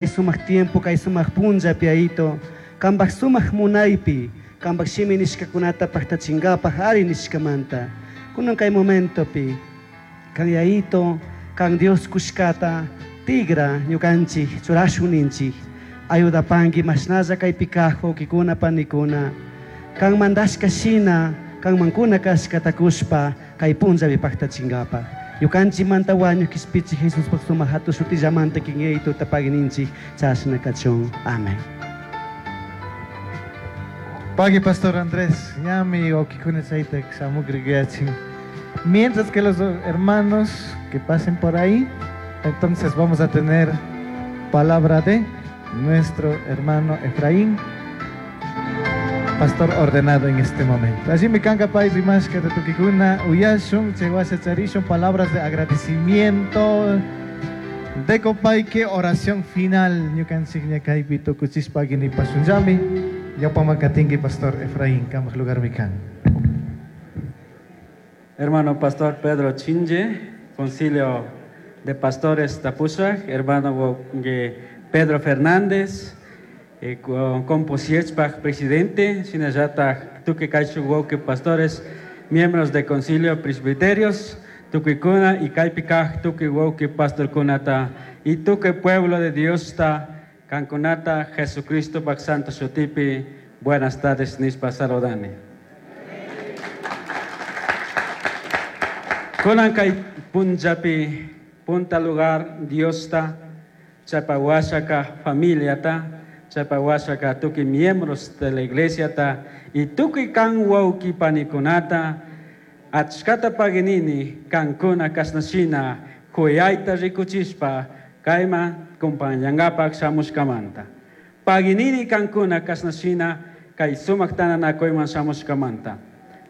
Sumaj tiempo kay sumaj punllapi, Yayito, kambaj sumaj munaypi, kambaj shimi nishkakunata paktachingapaj ari nishkamanta. Kunan kay momentopi, kan Yayito, kan Dios kushkata, tigra ñukanchik churashun ninchik. Ayudapanki mashnalla kaypi kaj wawkikuna panikuna. Kan mandashka shina, kanmankuna kashkata kushpa, kay punllapi paktachingapaj. Ñukanchikmanta wañuq kishpichik Jesuspaj sumaq hatun shutillamanta kin Yayituta pagui ninchik chashna kachun. Amén. Pagui, Pastor Andrés, ñami wawkikuna chayta shamukrikuyachin. Mientras que los hermanos que pasen por ahí, entonces vamos a tener palabra de nuestro hermano Efraín, pastor ordenado en este momento. Allí me canga pay rimashka de tukikuna uyashun, chaywasha charishun, palabras de agradecimiento, de que oración final, ñukanchik ña kaypi tukuchishpa nipashunllami, ñawpaman katinki, Pastor Efraín, kambaj lugarmi kan. Hermano Pastor Pedro Chinje, Concilio de Pastores Tapushak, hermano Pedro Fernández, Composiechpaj presidente, shinallataj tukuy kayshuk wawki pastores, miembros de concilio presbiterios, tukuykuna y kaypi kaj tukuy wawki pastorkunata y tukuy pueblo de Dios ta kankunata Jesucristo santo shutipi buenas tardes nishpa saludani. Kunan kay punllapi punta lugar Diosta chaypa familiata chaypa tukuy miembros de la iglesia ta y tukuy kan wawki panikunata achkata paginini kankuna kashnashina kuyayta rikuchishpa kayman compañangapak shamushkamanta. Paginini kankuna kashnashina kay sumak tananakuyman shamushkamanta.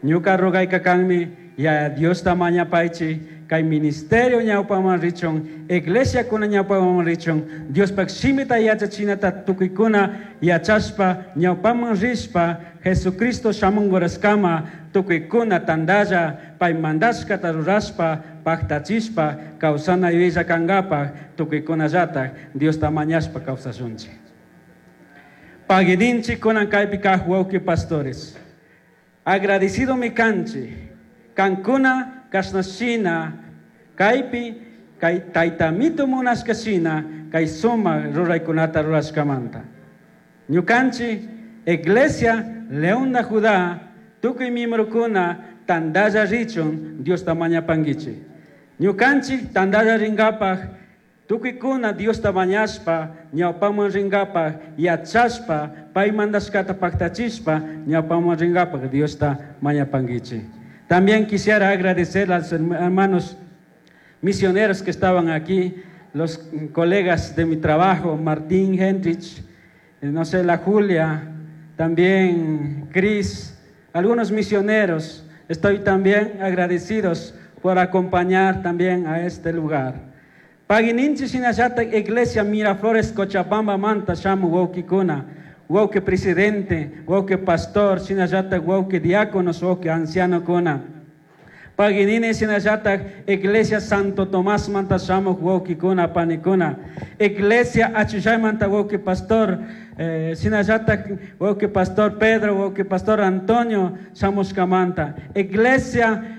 Ñuka rogayka kanmi ya Diosta mañapaychi kay ministerio ñawpaman richun, iglesia kuna ñawpaman richun, Diospak shimita yachachinata tukuykuna yachashpa ñawpaman rishpa Jesucristo shamunquraskama tukuykuna tandalla pay mandashkata rurashpa paktachishpa kawsana yuyaylla kankapaj tukuykunallataj Diosta mañashpa kawsashunchik. Paguininchik kunan kaypi kaj wawki pastores. Agradecido mi kanchik, kankuna kashnashina kaypi kay taytamito munashkashina kay sumak ruraykunata rurashkamanta. Ñukanchik Iglesia León de Judá tukuy miembrokuna tandalla richun Diosta mañapankichik. Ñukanchik tandalla rinkapaj tukuykuna Diosta mañashpa ñawpaman rinkapaj yachashpa pay mandashkata paktachishpa ñawpaman rinkapaj Diosta mañapankichik. También quisiera agradecer a los hermanos misioneros que estaban aquí, los colegas de mi trabajo, Martín Henrich, no sé, la Julia, también Cris, algunos misioneros. Estoy también agradecidos por acompañar también a este lugar. Pagininchi shinallata Iglesia Miraflores Cochabamba manta shamu wawkikuna, wawki presidente, wawki pastor, shinallata wawki diáconos, wawki ancianokuna. Paginini shinallata Iglesia Santo Tomás manta shamu wawkikuna panikuna. Iglesia Achushay manta wawki pastor, shinallata wawki pastor Pedro, wawki pastor Antonio shamushkamanta. Iglesia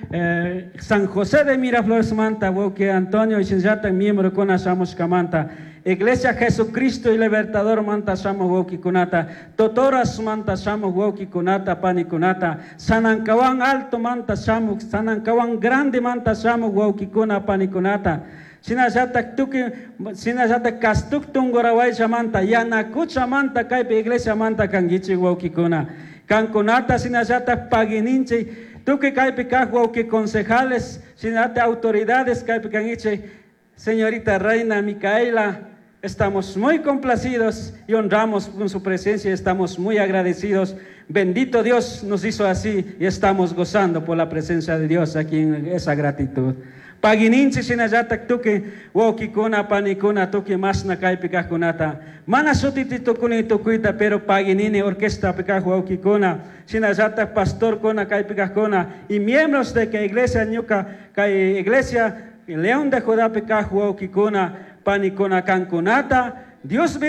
San José de Miraflores manta wawki Antonio shinallata miembrokuna shamushkamanta. Iglesia Jesucristo y Libertador manta shamu wawkikunata. Totoras manta shamu wawkikunata panikunata. Sanancawan Alto manta shamu, Sanancawan Grande manta shamu wawkikuna panikunata. Shinallata tukuy, shinallata Castuk Tungurahua manta, Yanacucha manta kaypi iglesia manta kankichik wawkikuna. Kankunata shinallata pagininchik, tukuy kaypi kaj wawki concejales, shinallata autoridades kaypi kankichik. Señorita Reina Micaela, estamos muy complacidos y honramos con su presencia, estamos muy agradecidos. Bendito Dios nos hizo así y estamos gozando por la presencia de Dios aquí en esa gratitud. Pagininchi shinallata tukuy wawkikuna panikuna tukuy mashna kaypi kajkunata. Mana shutiti tukuni tukuyta, pero paginini orquesta kaj wawkikuna, shinallata pastorkuna kaypi kajkuna y miembros de que iglesia ñuka kay iglesia León de Judá kaj wawkikuna panikuna kankunata. Dios.